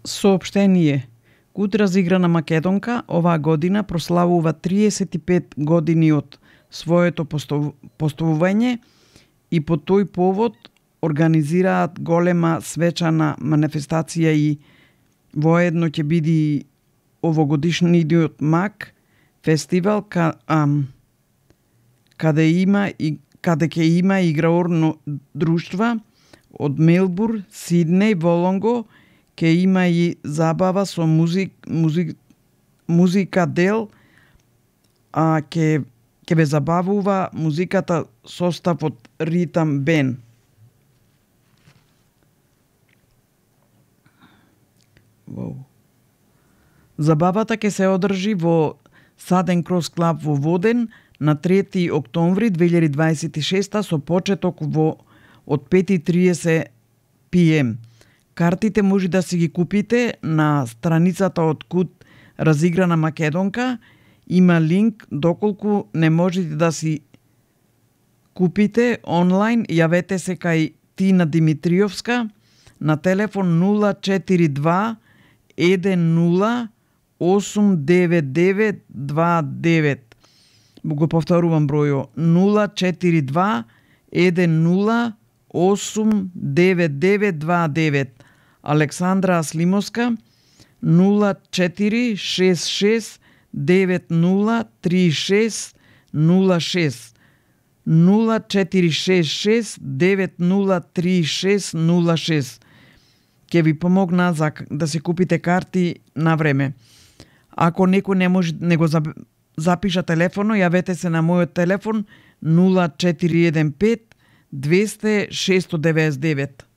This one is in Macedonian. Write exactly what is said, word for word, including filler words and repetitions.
Соопштение. Куд разиграна македонка оваа година прославува триесет и пет години од своето постојување и по тој повод организираат голема свечана манифестација и воедно ќе биде овогодишниот МАК фестивал ка, ам, каде има и каде ќе има играорно друштва од Мелбур, Сиднеј, Волонго, ќе има и забава со музик, музик, музика дел, а ќе ќе ве забавува музиката состав од Ритам Бен. Wow. Забавата ќе се одржи во Southern Cross Club во Воден на трети октомври две илјади дваесет и шеста со почеток во од пет и триесет пи ем. Картите може да си ги купите на страницата од Куд разиграна македонка. Има линк, доколку не можете да си купите онлайн, јавете се кај Тина Димитриовска на телефон нула четири два еден нула осум девет девет два девет. Го повторувам бројо нула четири два еден нула осум девет девет два девет. Александра Аслимовска нула четири шест шест девет нула три шест нула шест нула четири шест шест девет нула три шест нула шест. Ќе ви помогна за да се купите карти на време. Ако некој не може не го запиша телефоно, јавете се на мојот телефон нула четири еден пет двесте шест девет девет.